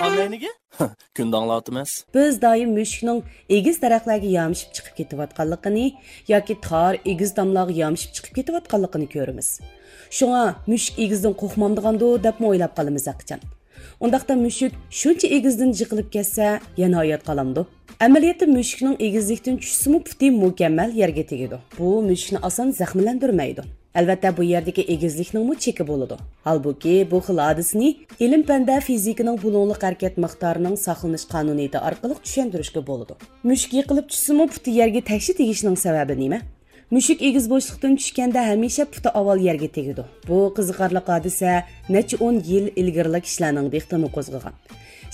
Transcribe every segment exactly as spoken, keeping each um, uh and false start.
ئاڭلاينىگە؟ كۈندە ئاڭلاۋاتىمىز. بىز دائىم مۈشۈكنىڭ ئېگىز دەرەخلەرگە يامىشىپ چىقىپ كېتىۋاتقانلىقىنى ياكى تار ئېگىز تاملارغا يامىشىپ چىقىپ كېتىۋاتقانلىقىنى كۆرىمىز. شۇڭا مۈشۈك ئېگىزدىن قورقمامدىغاندۇ دەپمۇ ئويلاپ قالىمىز ھەقىچان. ئۇنداقتا مۈشۈك شۇنچە ئېگىزدىن يىقىلىپ كەتسە، يەنە ھايات قالامدۇ؟ ئەمەلىيەتتە مۈشۈكنىڭ ئېگىزلىكتىن چۈشسىمۇ پۇتى مۇكەممەل يەرگە تېگىدۇ. بۇ مۈشۈكنى ئاسان زەخىملەندۈرمەيدۇ. ئەلۋەتتە، بۇ يەردىكى ئېگىزلىكنىڭمۇ چېكى بولىدۇ. ھالبۇكى، بۇ خىل ھادىسىنى ئىلىم-پەندە فىزىكىنىڭ بۇلۇڭلۇق ھەرىكەت مىقدارىنىڭ ساقلىنىش قانۇنىيىتى ئارقىلىق چۈشەندۈرۈشكە بولىدۇ. مۈشۈك يىقىلىپ چۈشسىمۇ پۇتى يەرگە تەكشى تېگىشىنىڭ سەۋەبى نېمە؟ مۈشۈك ئېگىز بوشلۇقتىن چۈشكەندە ھەمىشە پۇتى ئاۋۋال يەرگە تېگىدۇ. بۇ قىزىقارلىق ھادىسە نەچچە ئون يىل ئىلگىرىلا كىشىلەرنىڭ دىققىتىنى قوزغىغان.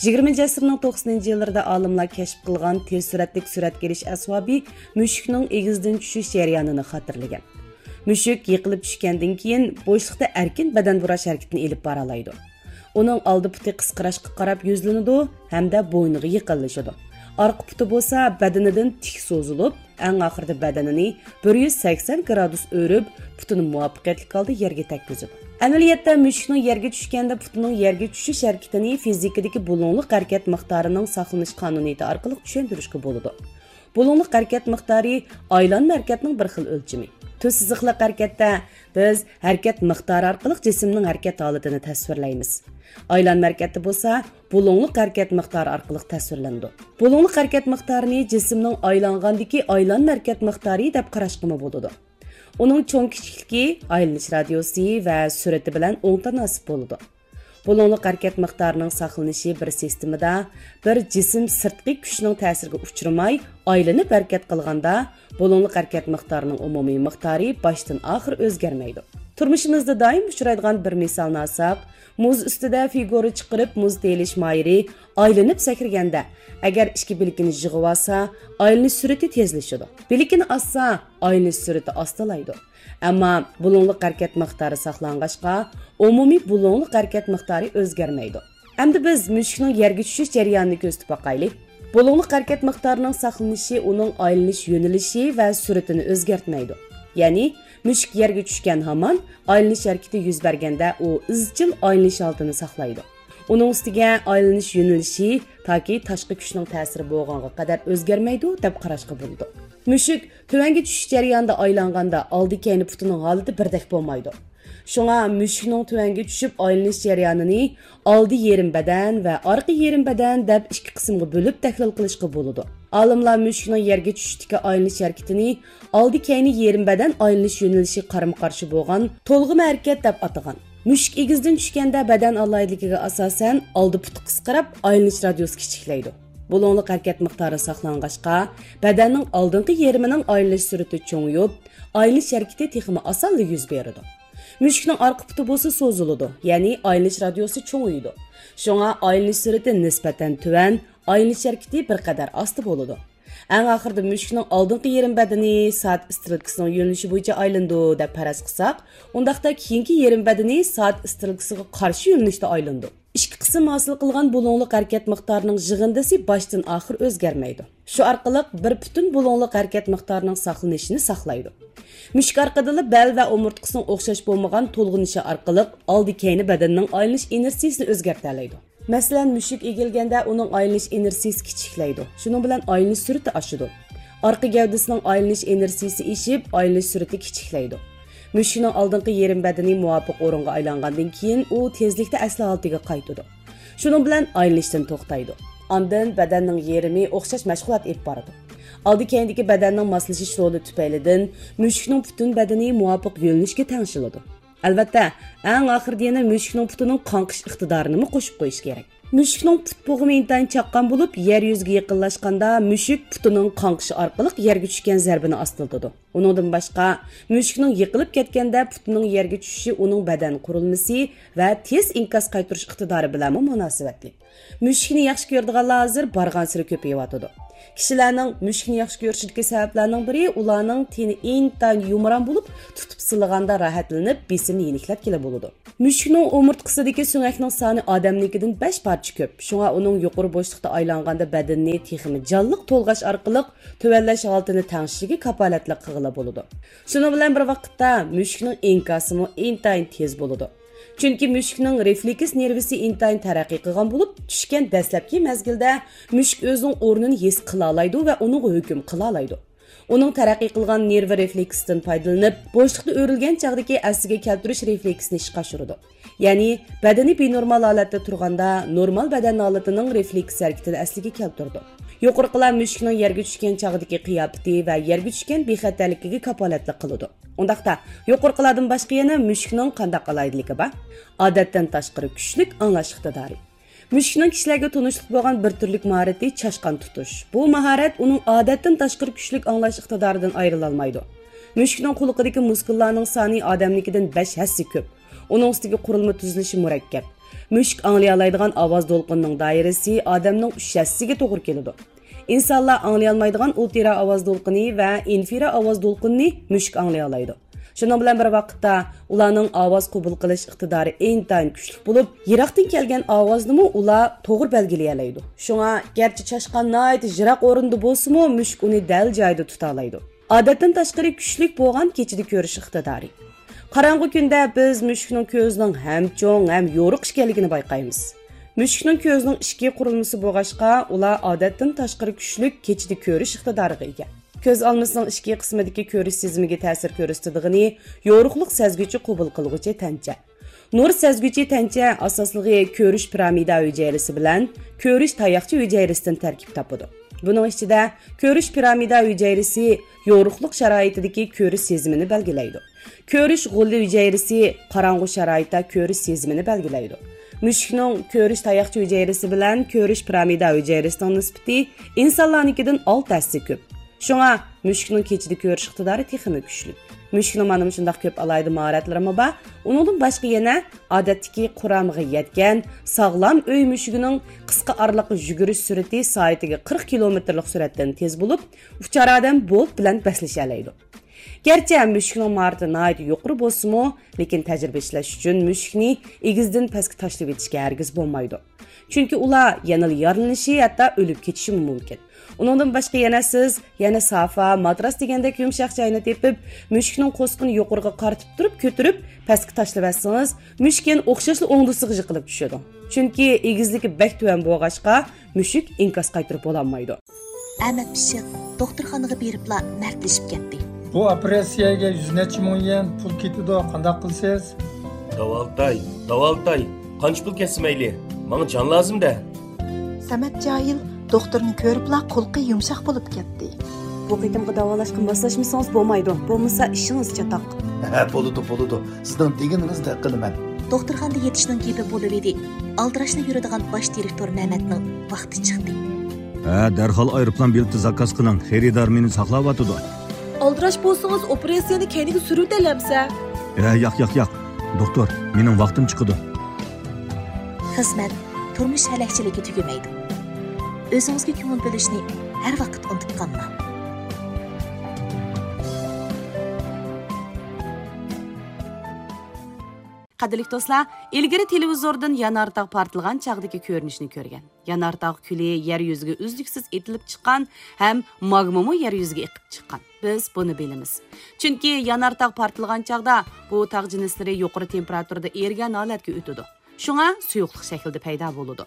يىگىرمىنچى ئەسىرنىڭ توقسىنىنچى يىللىرىدا ئالىملار كەشىپ قىلغان تېز سۈرئەتلىك سۈرەتكە ئېلىش ئەسۋابى مۈشۈكنىڭ ئېگىزدىن چۈشۈش جەريانىنى خاتىرىلىگەن. مۈشۈك يىقىلىپ چۈشكەندىن كېيىن بوشلۇقتا ئەركىن بەدەن بۇراش ھەرىكىتىنى ئېلىپ بارالايدۇ. ئۇنىڭ ئالدى پۇتى قىسقىراشقا قاراپ يۈزلىنىدۇ ھەمدە بوينىغا يېقىنلىشىدۇ. ئارقا پۇتى بولسا بەدىنىدىن تىك سوزۇلۇپ، ئەڭ ئاخىرىدا بەدىنىنى بىر يۈز سەكسەن گرادۇس ئۆرۈپ، پۇتىنى مۇۋەپپەقىيەتلىك ھالدا يەرگە تەگكۈزىدۇ. ئەمەلىيەتتە مۈشۈكنىڭ يەرگە چۈشكەندە پۇتىنىڭ يەرگە چۈشۈش ھەرىكىتىنى فىزىكىدىكى بۇلۇڭلۇق ھەرىكەت مىقدارىنىڭ ساقلىنىش قانۇنىيىتى ئارقىلىق چۈشەندۈرۈشكە بولىدۇ. بۇلۇڭلۇق ھەرىكەت مىقدارى ئايلانما ھەرىكەتنىڭ بىر خىل ئۆلچىمى. تۈز سىزىقلىق ھەرىكەتتە بىز ھەرىكەت مىقدارى ئارقىلىق جىسىمنىڭ ھەرىكەت ھالىتىنى تەسۋىرلەيمىز. ئايلانما ھەرىكەتتە بولسا بۇلۇڭلۇق ھەرىكەت مىقدارى ئارقىلىق تەسۋىرلىنىدۇ. بۇلۇڭلۇق ھەرىكەت مىقدارىنى جىسىمنىڭ ئايلانغاندىكى ئايلانما ھەرىكەت مىقدارى دەپ قاراشقىمۇ بولىدۇ. ئۇنىڭ چوڭ كىچىكلىكى ئايلىنىش رادىيۇسى ۋە سۈرئىتى بىلەن ئوڭ تاناسىپ بولىدۇ. بۇلۇڭلۇق ھەرىكەت مىقدارىنىڭ ساقلىنىشى بىر سىستېمىدا بىر جىسىم سىرتقى كۈچنىڭ تەسىرىگە ئۇچرىماي، ئايلىنىپ ھەرىكەت قىلغاندا، بۇلۇڭلۇق ھەرىكەت مىقدارىنىڭ ئومۇمىي مىقدارى باشتىن ئاخىر ئۆزگەرمەيدۇ. تۇرمۇشىمىزدا دائىم ئۇچرايدىغان بىر مىسالنى ئالساق، مۇز ئۈستىدە فىگۇرا چىقىرىپ مۇز تېيىلىش ماھىرى ئايلىنىپ سەكرىگەندە، ئەگەر ئىككى بىلىكىنى يىغىۋالسا، ئايلىنىش سۈرئىتى تېزلىشىدۇ. بىلىكىنى ئاسسا، ئايلىنىش سۈرئىتى ئاستىلايدۇ. ئەمما بۇلۇڭلۇق ھەرىكەت مىقدارى ساقلانغاچقا، ئومۇمىي بۇلۇڭلۇق ھەرىكەت مىقدارى ئۆزگەرمەيدۇ. ئەمدى بىز مۈشۈكنىڭ يەرگە چۈشۈش جەريانىنى كۆزىتىپ باقايلى. بۇلۇڭلۇق ھەرىكەت مىقدارىنىڭ ساقلىنىشى ئۇنىڭ ئايلىنىش يۆنىلىشى ۋە سۈرئىتىنى ئۆزگەرتمەيدۇ. يەنى، مۈشۈك يەرگە چۈشكەن ھامان ئايلىنىش ھەرىكىتى يۈز بەرگەندە، ئۇ ئىزچىل ئايلىنىش ھالىتىنى ساقلايدۇ. ئۇنىڭ ئۈستىگە ئايلىنىش يۆنىلىشى تاكى تاشقى كۈچنىڭ تەسىرى بولغانغا قەدەر ئۆزگەرمەيدۇ، دەپ قاراشقا بولىدۇ. مۈشۈك تۆۋەنگە چۈشۈش جەريانىدا ئايلانغاندا ئالدى كەينى پۇتىنىڭ ھالىتى بىردەك بولمايدۇ. شۇڭا مۈشۈكنىڭ تۆۋەنگە چۈشۈپ ئايلىنىش جەريانىنى ئالدى يېرىم بەدەن ۋە ئارقا يېرىم بەدەن دەپ ئىككى قىسىمغا بۆلۈپ تەھلىل قىلىشقا بولىدۇ. ئالىملار مۈشۈكنىڭ يەرگە چۈشۈشتىكى ئايلىنىش ھەرىكىتىنى ئالدى كەينى يېرىم بەدەن ئايلىنىش يۆنىلىشى قارىمۇ قارشى بولغان تولغىما ھەرىكەت دەپ ئاتىغان. مۈشۈك ئېگىزدىن چۈشكەندە بەدەن ئالاھىدىلىكىگە ئاساسەن ئالدى پۇتى قىسقىراپ ئايلىنىش رادىيۇسى كىچىكلەيدۇ. بۇلۇڭلۇق ھەرىكەت مىقدارى ساقلانغاچقا، بەدەننىڭ ئالدىنقى يېرىمىنىڭ ئايلىنىش سۈرئىتى چوڭىيىپ، ئايلىنىش ھەرىكىتى تېخىمۇ ئاسانلا يۈز بېرىدۇ. مۈشۈكنىڭ ئارقا پۇتى بولسا سوزۇلىدۇ، يەنى ئايلىنىش رادىيۇسى چوڭىيىدۇ. شۇڭا ئايلىنىش سۈرئىتى نىسبەتەن تۆۋەن، ئايلىنىش ھەرىكىتى بىر قەدەر ئاستا بولىدۇ. ئەڭ ئاخىرىدا مۈشۈكنىڭ ئالدىنقى يېرىم بەدىنى سائەت ئىسترېلكىسىنىڭ يۆنىلىشى بويىچە ئايلىنىدۇ دەپ پەرەز قىلساق، ئۇنداقتا كېيىنكى يېرىم بەدىنى سائەت ئىسترېلكىسىغا قارشى يۆنىلىشتە ئايلىنىدۇ. ئىككى قىسىم ھاسىل قىلغان بۇلۇڭلۇق ھەرىكەت مىقدارىنىڭ يىغىندىسى باشتىن ئاخىر ئۆزگەرمەيدۇ. شۇ ئارقىلىق بىر پۈتۈن بۇلۇڭلۇق ھەرىكەت مىقدارىنىڭ ساقلىنىشىنى ساقلايدۇ. مۈشۈك ئارقىدىلا بەل ۋە ئومۇرتقىسىنىڭ ئوخشاش بولمىغان تولغىنىشى ئارقىلىق ئالدى كەينى بەدەننىڭ ئايلىنىش ئىنېرتسىيىسىنى ئۆزگەرتەلەيدۇ. مەسىلەن، مۈشۈك ئېگىلگەندە ئۇنىڭ ئايلىنىش ئىنېرتسىيىسى كىچىكلەيدۇ. شۇنىڭ بىلەن ئايلىنىش سۈرئىتى ئاشىدۇ. ئارقا گەۋدىسىنىڭ ئايلىنىش ئىنېرتسىيىسى ئېشىپ، ئايلىنىش سۈرئىتى كىچىكلەيدۇ. مۈشۈكنىڭ ئالدىنقى يېرىم بەدىنى مۇۋاپىق ئورۇنغا ئايلانغاندىن كېيىن، ئۇ تېزلىكتە ئەسلى ھالىتىگە قايتىدۇ. شۇنىڭ بىلەن ئايلىنىشتىن توختايدۇ. ئاندىن بەدەننىڭ يېرىمى ئوخشاش مەشغۇلات ئېلىپ بارىدۇ. ئالدى كەينىدىكى بەدەننىڭ ماسلىشىش رولى تۈپەيلىدىن مۈشۈكنىڭ پۈتۈن بەدىنى مۇۋاپىق يۆنىلىشكە تەڭشىلىدۇ. ئەلۋەتتە، ئەڭ ئاخىرىدا يەنە مۈشۈكنىڭ پۇتىنىڭ قاڭقىش ئىقتىدارىنىمۇ قوشۇپ قويۇش كېرەك. مۈشۈكنىڭ پۇت بوغۇمى ئىنتايىن چاققان بولۇپ، يەر يۈزىگە يېقىنلاشقاندا مۈشۈك پۇتىنىڭ قاڭقىشى ئارقىلىق يەرگە چۈشكەن زەربىنى ئاستىلىتىدۇ. ئۇنىڭدىن باشقا، مۈشۈكنىڭ يىقىلىپ كەتكەندە پۇتىنىڭ يەرگە چۈشۈشى ئۇنىڭ بەدەن قۇرۇلمىسى ۋە تېز ئىنكاس قايتۇرۇش ئىقتىدارى بىلەنمۇ مۇناسىۋەتلىك. مۈشۈكنى ياخشى كۆرىدىغانلار ھازىر بارغانسېرى كۆپىيىۋاتىدۇ. كىشىلەرنىڭ مۈشۈكنى ياخشى كۆرۈشىدىكى سەۋەبلەرنىڭ بىرى ئۇلارنىڭ تېنى ئىنتايىن يۇمران بولۇپ، تۇتۇپ سىلىغاندا راھەتلىنىپ، بېسىمنى يېنىكلەتكىلى بولىدۇ. مۈشۈكنىڭ ئومۇرتقىسىدىكى سۆڭەكنىڭ سانى ئادەمنىڭكىدىن بەش پارچە كۆپ. شۇڭا ئۇنىڭ يۇقىرى بوشلۇقتا ئايلانغاندا بەدىنىنى تېخىمۇ جانلىق تولغاش ئارقىلىق تۆۋەنلەش ھالىتىنى تەڭشىشىگە كاپالەتلىك قىلغىلى بولىدۇ. شۇنىڭ بىلەن بىر ۋاقىتتا، مۈشۈكنىڭ ئىنكاسىمۇ ئىنتايىن تېز بولىدۇ. چۈنكى مۈشۈكنىڭ رېفلېكس نېرۋىسى ئىنتايىن تەرەققىي قىلغان بولۇپ، چۈشكەن دەسلەپكى مەزگىلدە مۈشۈك ئۆزىنىڭ ئورنىنى ھېس قىلالايدۇ ۋە ئۇنىڭغا ھۆكۈم قىلالايدۇ. ئۇنىڭ تەرەققىي قىلغان نېرۋا رېفلېكستىن پايدىلىنىپ، بوشلۇقتا ئۆرۈلگەن چاغدىكى ئەسلىگە كەلتۈرۈش رېفلېكسىنى ئىشقا ئاشۇرىدۇ. يەنى، بەدىنى بىنورمال ھالەتتە تۇرغاندا، نورمال بەدەن ھالىتىنىڭ رېفلېكس ھەرىكىتىنى ئەسلىگە كەلتۈرىدۇ. يۇقىرىقىلار مۈشۈكنىڭ يەرگە چۈشكەن چاغدىكى قىياپىتى ۋە يەرگە چۈشكەن بىخەتەرلىكىگە كاپالەتلىك قىلىدۇ. ئۇنداقتا، يۇقىرىقىلاردىن باشقا يەنە مۈشۈكنىڭ قانداق ئالاھىدىلىكى بار؟ ئادەتتىن تاشقىرى كۈچلۈك ئاڭلاش ئىقتىدارى. مۈشۈكنىڭ كىشىلەرگە تونۇشلۇق بولغان بىر تۈرلۈك ماھارىتى چاشقان تۇتۇش. بۇ ماھارەت ئۇنىڭ ئادەتتىن تاشقىرى كۈچلۈك ئاڭلاش ئىقتىدارىدىن ئايرىلالمايدۇ. مۈشۈكنىڭ قۇلىقىدىكى مۇسكۇللارنىڭ سانى ئادەمنىڭكىدىن بەش ھەسسە كۆپ. ئۇنىڭ ئۈستىگە قۇرۇلما تۈزۈلۈشى مۇرەككەپ. مۈشۈك ئاڭلىيالايدىغان ئاۋاز دولقۇنىنىڭ دائىرىسى ئادەمنىڭ ئۈچ ھەسسىگە توغرا كېلىدۇ. ئىنسانلار ئاڭلىيالمايدىغان ئۇلترا ئاۋاز دولقۇنى ۋە ئىنفرا ئاۋاز دولقۇنىنى مۈشۈك ئاڭلىيالايدۇ. شۇنىڭ بىلەن بىر ۋاقىتتا، ئۇلارنىڭ ئاۋاز قوبۇل قىلىش ئىقتىدارى ئىنتايىن كۈچلۈك بولۇپ، يىراقتىن كەلگەن ئاۋازنىمۇ ئۇلار توغرا بەلگىلىيەلەيدۇ. شۇڭا، گەرچە چاشقان ناھايىتى يىراق ئورۇندا بولسىمۇ، مۈشۈك ئۇنى دەل جايىدا تۇتالايدۇ. ئادەتتىن تاشقىرى كۈچلۈك بولغان كېچىدە كۆرۈش ئىقتىدارى. قاراڭغۇ كۈندە بىز مۈشۈكنىڭ كۆزىنىڭ ھەم چوڭ، ھەم يورۇق ئىكەنلىكىنى بايقايمىز. مۈشۈكنىڭ كۆزىنىڭ ئىچكى قۇرۇلمىسى بولغاچقا، ئۇلار ئادەتتىن تاشقىرى كۈچلۈك كېچىدە كۆرۈش ئىقتىدارىغا ئىگە. كۆز ئالمىسىنىڭ ئىچكى قىسمىدىكى كۆرۈش سېزىمىگە تەسىر كۆرسىتىدىغىنى يورۇقلۇق سەزگۈچى قوبۇل قىلغۇچى تەنچە. نۇر سەزگۈچى تەنچە ئاساسلىقى كۆرۈش پىرامىدا ھۈجەيرىسى بىلەن كۆرۈش تاياقچە ھۈجەيرىسىدىن تەركىب تاپىدۇ. بۇنىڭ ئىچىدە كۆرۈش پىرامىدا ھۈجەيرىسى يورۇقلۇق شارائىتىدىكى كۆرۈش سېزىمىنى بەلگىلەيدۇ. كۆرۈش غولى ھۈجەيرىسى قاراڭغۇ شارائىتتا كۆرۈش سېزىمىنى بەلگىلەيدۇ. مۈشۈكنىڭ كۆرۈش تاياقچە ھۈجەيرىسى بىلەن كۆرۈش پىرامىدا ھۈجەيرىسىنىڭ نىسبىتى ئىنسانلارنىڭكىدىن ئالتە ھەسسە كۆپ. شۇڭا مۈشۈكنىڭ كېچىدە كۆرۈش ئىقتىدارى تېخىمۇ كۈچلۈك. مۈشۈكنىڭ مانا مۇشۇنداق كۆپ ئالاھىدە ماھارەتلىرىمۇ بار. ئۇنىڭدىن باشقا يەنە ئادەتتىكى قۇرامىغا يەتكەن ساغلام ئۆي مۈشۈكىنىڭ قىسقا ئارىلىققا يۈگۈرۈش سۈرئىتى سائىتىگە قىرىق كىلومېتىرلىق سۈرئەتتىن تېز بولۇپ، ئۇچار ئادەم بولت بىلەن بەسلىشەلەيدۇ. گەرچە مۈشۈكنىڭ ماھارىتى ناھايىتى يۇقىرى بولسىمۇ، لېكىن تەجرىبە ئىشلەش ئۈچۈن مۈشۈكنى ئېگىزدىن پەسكە تاشلىۋېتىشكە ھەرگىز بولمايدۇ. چۈنكى ئۇلار يەنىلا يارىلىنىشى، ھەتتا ئۆلۈپ كېتىشىمۇ مۇمكىن. ئۇنىڭدىن باشقا يەنە سىز يەنە سافا، ماتراس دېگەندەك يۇمشاق جاينى تېپىپ، مۈشۈكنىڭ قورسىقىنى يۇقىرىغا قارىتىپ تۇرۇپ كۆتۈرۈپ، پەسكە تاشلىۋەتسىڭىز، مۈشۈك يەنە ئوخشاشلا ئوڭدىسىغا يىقىلىپ چۈشىدۇ. چۈنكى ئېگىزلىكى بەك تۆۋەن بولغاچقا، مۈشۈك ئىنكاس قايتۇرۇپ بولالمايدۇ. ئەمەت پىششىق دوختۇرخانىغا بېرىپلا مەردلىشىپ كەتتى. بۇ ئوپېراتسىيەگە يۈز نەچچە مىڭ يۈەن پۇل كېتىدۇ، قانداق قىلىسىز؟ داۋالىتاي، داۋالىتاي، قانچە پۇل كەتسە مەيلى، ماڭا جان لازىم-دە. سەمەت جاھىل دوختۇرنى كۆرۈپلا قۇلىقى يۇمشاق بولۇپ كەتتى. بۇ قېتىمقى داۋالاشقا ماسلاشمىسىڭىز بولمايدۇ، بولمىسا ئىشىڭىز چاتاق. ھە، بولىدۇ، بولىدۇ، سىزنىڭ دېگىنىڭىزدەك قىلىمەن. دوختۇرخانىدا يېتىشنىڭ گېپى بولۇۋىدى. ئالدىراشلا يۈرىدىغان باش دىرېكتور مەمەتنىڭ ۋاقتى چىقتى. ھە، دەرھال ئايروپىلان بېلىتى زاكاز قىلىڭ، خېرىدار مېنى ساقلاۋاتىدۇ. ئالدىراش بولسىڭىز ئوپېراتسىيەنى كەينىگە سۈرۈۋېتەلەمسە؟ ھە، ياق، ياق، ياق. دوختۇر، مېنىڭ ۋاقتىم چىقىدۇ. خىزمەت، تۇرمۇش ھەلەكچىلىكى تۈگىمەيدۇ. ئۆزىڭىزگە كۆڭۈل بۆلۈشنى ھەر ۋاقىت ئۇنتۇپ قالماڭ. قەدىرلىك دوستلار، ئىلگىرى تېلېۋىزوردىن يانارتاغ پارتلىغان چاغدىكى كۆرۈنۈشنى كۆرگەن. يانارتاغ كۈلى يەر يۈزىگە ئۈزلۈكسىز ئېتىلىپ چىققان ھەم ماگمىمۇ يەر يۈزىگە ئېقىپ چىققان. بىز بۇنى بىلىمىز. چۈنكى يانارتاغ پارتلىغان چاغدا بۇ تاغ جىنسلىرى يۇقىرى تېمپېراتۇرىدا ئېرىگەن ھالەتكە ئۆتىدۇ. شۇڭا سۇيۇقلۇق شەكلىدە پەيدا بولىدۇ.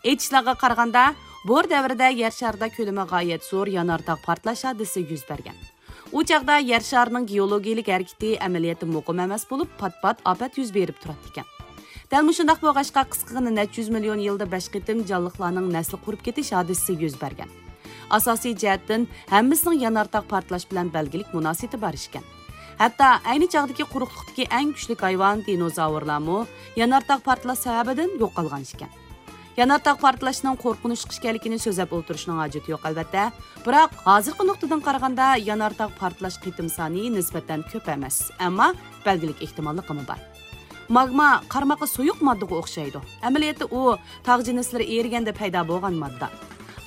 ئېيتىشلارغا قارىغاندا، بور دەۋرىدە يەر شارىدا كۆلىمى غايەت زور يانارتاغ پارتلاش ھادىسىسى يۈز بەرگەن. ئۇ چاغدا يەر شارىنىڭ گېئولوگىيىلىك ھەرىكىتى ئەمەلىيەتتە مۇقىم ئەمەس بولۇپ، پات-پات ئاپەت يۈز بېرىپ تۇراتتىكەن. دەل مۇشۇنداق بولغاچقا، قىسقىغىنە نەچچە يۈز مىليون يىلدا بەش قېتىم جانلىقلارنىڭ نەسلى قۇرۇپ كېتىش ھادىسىسى يۈز بەرگەن. ئاساسىي جەھەتتىن ھەممىسىنىڭ يانارتاغ پارتلاش بىلەن بەلگىلىك مۇناسىۋىتى بار ئىكەن. ھەتتا ئەينى چاغدىكى قۇرۇقلۇقتىكى ئەڭ كۈچلۈك ھايۋان دىنوزاۋرلارمۇ يانارتاغ پارتلاش سەۋەبىدىن يوقالغان ئىكەن. يانارتاغ پارتلاشنىڭ قورقۇنچلۇق ئىكەنلىكىنى سۆزلەپ ئولتۇرۇشنىڭ ھاجىتى يوق، ئەلۋەتتە. بىراق، ھازىرقى نۇقتىدىن قارىغاندا، يانارتاغ پارتلاش قېتىم سانى نىسبەتەن كۆپ ئەمەس، ئەمما بەلگىلىك ئېھتىماللىقىمۇ بار. ماگما قارىماققا سۇيۇق ماددىغا ئوخشايدۇ. ئەمەلىيەتتە ئۇ تاغ جىنسلىرى ئېرىگەندە پەيدا بولغان ماددا.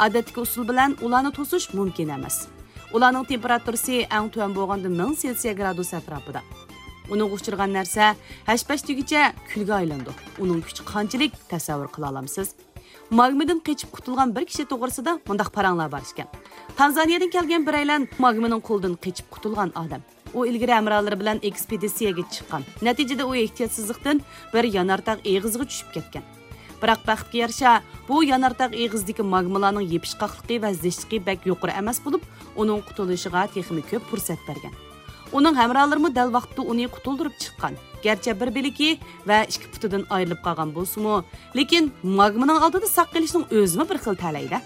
ئادەتتىكى ئۇسۇل بىلەن ئۇلارنى توسۇش مۇمكىن ئەمەس. ئۇلارنىڭ تېمپېراتۇرىسى ئەڭ تۆۋەن بولغاندا مىڭ سېلسىيە گرادۇس ئەتراپىدا. ئۇنىڭغا ئۇچرىغان نەرسە ھەش-پەش دېگۈچە كۈلگە ئايلىنىدۇ. ئۇنىڭ كۈچى قانچىلىك، تەسەۋۋۇر قىلالامسىز؟ ماگمىدىن قېچىپ قۇتۇلغان بىر كىشى توغرىسىدا مۇنداق پاراڭلار بار ئىكەن. تانزانىيەدىن كەلگەن بىرەيلەن ماگمىنىڭ قولىدىن قېچىپ قۇتۇلغان ئادەم. ئۇ ئىلگىرى ھەمراھلىرى بىلەن ئېكسپېدىتسىيەگە چىققان. نەتىجىدە ئۇ ئېھتىياتسىزلىقتىن بىر يانارتاغ ئېغىزىغا چۈشۈپ كەتكەن. بىراق بەختكە يارىشا، بۇ يانارتاغ ئېغىزىدىكى ماگمىلارنىڭ يېپىشقاقلىقى ۋە زىچلىقى بەك يۇقىرى ئەمەس بولۇپ، ئۇنىڭ قۇتۇلۇشىغا تېخىمۇ كۆپ پۇرسەت بەرگەن. ئۇنىڭ ھەمراھلىرىمۇ دەل ۋاقتىدا ئۇنى قۇتۇلدۇرۇپ چىققان. گەرچە بىر بىلىكى ۋە ئىككى پۇتىدىن ئايرىلىپ قالغان بولسىمۇ، لېكىن ماگمىنىڭ ئالدىدا ساق قېلىشنىڭ ئۆزىمۇ بىر خىل تەلەيدە.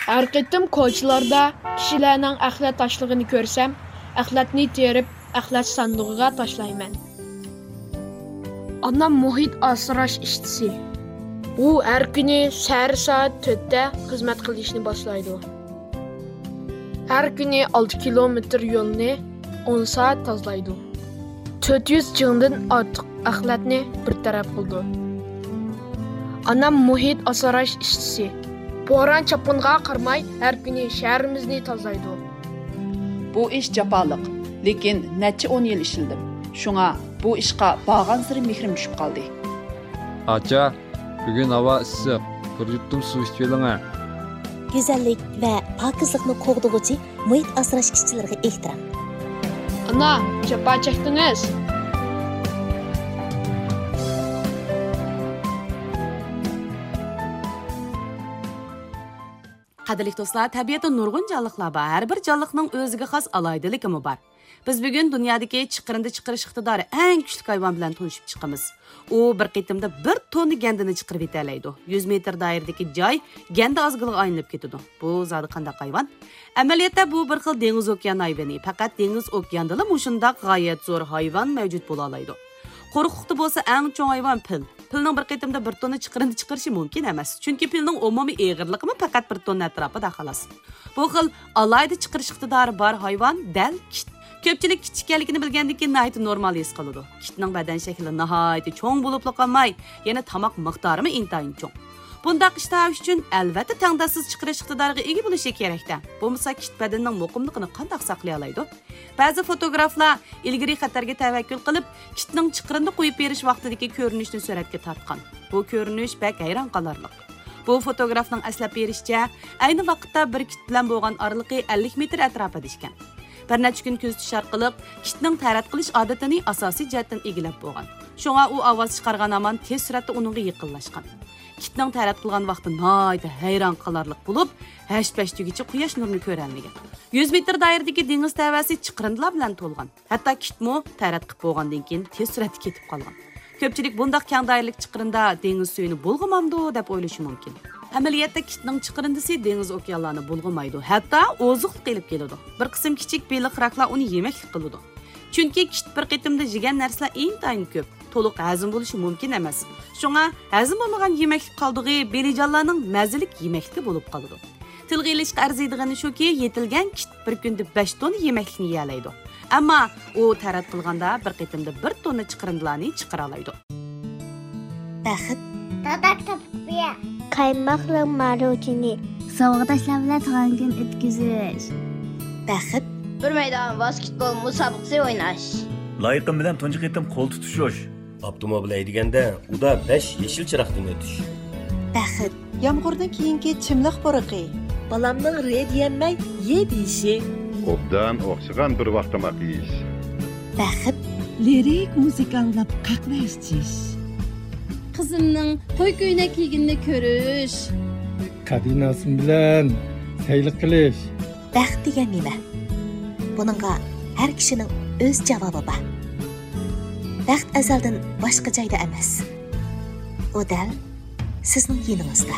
ھەر قېتىم كوچىلاردا كىشىلەرنىڭ ئەخلەت تاشلىغىنى كۆرسەم، ئەخلەتنى تېرىپ، ئەخلەت ساندۇقىغا تاشلايمەن. ئانام مۇھىت ئاسراش ئىشچىسى. ئۇ ھەر كۈنى سەھەر سائەت تۆتتە خىزمەت قىلىشنى باشلايدۇ. ھەر كۈنى ئالتە كىلومېتىر يولنى ئون سائەت تازىلايدۇ. تۆت يۈز چىڭدىن ئارتۇق ئەخلەتنى بىر تەرەپ قىلىدۇ. ئانام مۇھىت ئاسراش ئىشچىسى. بوران-چاپقۇنغا قارىماي، ھەر كۈنى شەھىرىمىزنى تازىلايدۇ. بۇ ئىش جاپالىق، لېكىن نەچچە ئون يىل ئىشلىدىم. شۇڭا بۇ ئىشقا بارغانسېرى مېھرىم چۈشۈپ قالدى. ئاچا، بۈگۈن ھاۋا ئىسسىق، بىر يۇتۇم سۇ ئىچىۋېلىڭە. گۈزەللىك ۋە پاكىزلىقنى قوغدىغۇچى مۇھىت ئاسراش ئىشچىلىرىغا ئېھتىرام. ئانا، جاپا چەكتىڭىز. قەدىرلىك دوستلار، تەبىئەتتە نۇرغۇن جانلىقلار بار. ھەر بىر جانلىقنىڭ ئۆزىگە خاس ئالاھىدىلىكىمۇ بار. بىز بۈگۈن دۇنيادىكى چىقىرىندى چىقىرىش ئىقتىدارى ئەڭ كۈچلۈك ھايۋان بىلەن تونۇشۇپ چىقىمىز. ئۇ بىر قېتىمدا بىر توننا گەندىنى چىقىرىۋېتەلەيدۇ. يۈز مېتىر دائىرىدىكى جاي گەندە ئازگىلىغا ئايلىنىپ كېتىدۇ. بۇ زادى قانداق ھايۋان؟ ئەمەلىيەتتە بۇ بىر خىل دېڭىز ئوكيان ھايۋىنى. پەقەت دېڭىز ئوكياندىلا مۇشۇنداق غايەت زور ھايۋان مەۋجۇت بولالايدۇ. قۇرۇقلۇقتا بولسا ئەڭ چوڭ ھايۋان پىل. پىلنىڭ بىر قېتىمدا بىر توننا چىقىرىندى چىقىرىشى مۇمكىن ئەمەس. چۈنكى پىلنىڭ ئومۇمىي ئېغىرلىقىمۇ پەقەت بىر توننا ئەتراپىدا، خالاس. بۇ خىل ئالاھىدە چىقىرىش ئىقتىدارى بار ھايۋان دەل كىت. كۆپچىلىك كىت ئىكەنلىكىنى بىلگەندىن كېيىن ناھايىتى نورمال ھېس قىلىدۇ. كىتنىڭ بەدەن شەكلى ناھايىتى چوڭ بولۇپلا قالماي، يەنە تاماق مىقدارىمۇ ئىنتايىن چوڭ. بۇنداق ئىشتىھا ئۈچۈن ئەلۋەتتە تەڭداشسىز چىقىرىش ئىقتىدارىغا ئىگە بولۇشى كېرەكتە. بولمىسا كىت بەدىنىنىڭ مۇقىملىقىنى قانداق ساقلىيالايدۇ؟ بەزى فوتوگرافلار ئىلگىرى خەتەرگە تەۋەككۈل قىلىپ، كىتنىڭ چىقىرىندى قويۇپ بېرىش ۋاقتىدىكى كۆرۈنۈشنى سۈرەتكە تارتقان. بۇ كۆرۈنۈش بەك ھەيران قالارلىق. بۇ فوتوگرافنىڭ ئەسلەپ بېرىشىچە، ئەينى ۋاقىتتا بىر كىت بىلەن بولغان ئارىلىقى ئەللىك مېتىر ئەتراپىدا ئىكەن. بىر نەچچە كۈن كۆزىتىش ئارقىلىق كىتنىڭ تەرەت قىلىش ئادىتىنى ئاساسىي جەھەتتىن ئىگىلەپ بولغان. شۇڭا ئۇ ئاۋاز چىقارغان ھامان تېز سۈرئەتتە ئۇنىڭغا يېقىنلاشقان. كىتنىڭ تەرەت قىلغان ۋاقتى ناھايىتى ھەيران قالارلىق بولۇپ، ھەش-پەشتىگىچە قۇياش نۇرىنى كۆرەلمىگەن. يۈز مېتىر دائىرىدىكى دېڭىز تەۋەسى چىقىرىندىلار بىلەن تولغان. ھەتتا كىتمۇ تەرەت قىلىپ بولغاندىن كېيىن تېز سۈرئەتتە كېتىپ قالغان. كۆپچىلىك بۇنداق كەڭ دائىرىلىك چىقىرىندا دېڭىز سۈيىنى بۇلغىمامدۇ دەپ ئويلىشى مۇمكىن. ئەمەلىيەتتە كىتنىڭ چىقىرىندىسى دېڭىز ئوكيانلارنى بۇلغىمايدۇ، ھەتتا ئوزۇقلۇق ئېلىپ كېلىدۇ. بىر قىسىم كىچىك بېلىق، راكلار ئۇنى يېمەكلىك قىلىدۇ. چۈنكى كىت بىر قېتىمدا يېگەن نەرسىلەر ئىنتايىن كۆپ، تولۇق ھەزىم بولۇشى مۇمكىن ئەمەس. شۇڭا ھەزىم بولمىغان يېمەكلىك قالدۇقى بېلىجانلارنىڭ مەززىلىك يېمەكلىكى بولۇپ قالىدۇ. تىلغا ئېلىشقا ئەرزىيدىغىنى شۇكى، يېتىلگەن كىت بىر كۈندە بەش توننا يېمەكلىكنى يېيەلەيدۇ. ئەمما ئۇ تەرەت قىلغاندا بىر قېتىمدا بىر توننا چىقىرىندىلارنى چىقىرالايدۇ. بەخت. دادا كىتاب ئوقۇيا. قايماقلىق ماروژنى. ساۋاقداشلار بىلەن تۇغان كۈن ئۆتكۈزۈش. بەخت. بىر مەيدان ۋاسكېتبول مۇسابىقىسى ئويناش. لايىقىم بىلەن تۇنجى قېتىم قول تۇتۇشۇش. ئاپتوموبىل ھەيدىگەندە ئۇدا بەش يېشىل چىراغدىن ئۆتۈش. بەخت. يامغۇردىن كېيىنكى چىملىق پۇرىقى. بالامنىڭ رې دېيەلمەي يې دېيىشى. ئوبدان ئوخشىغان بىر ۋاق تاماق يېيىش. بەخت. لىرىك مۇزىكا ئاڭلاپ قەھۋە ئىچىش. قىزىمنىڭ توي كۆينەك كىيگىنىنى كۆرۈش. قەدىناسىم بىلەن سەيلە قىلىش. بەخت دېگەن نېمە؟ بۇنىڭغا ھەر كىشىنىڭ ئۆز جاۋابى بار. بەخت ئەزەلدىن باشقا جايدا ئەمەس. ئۇ دەل سىزنىڭ يېنىڭىزدا.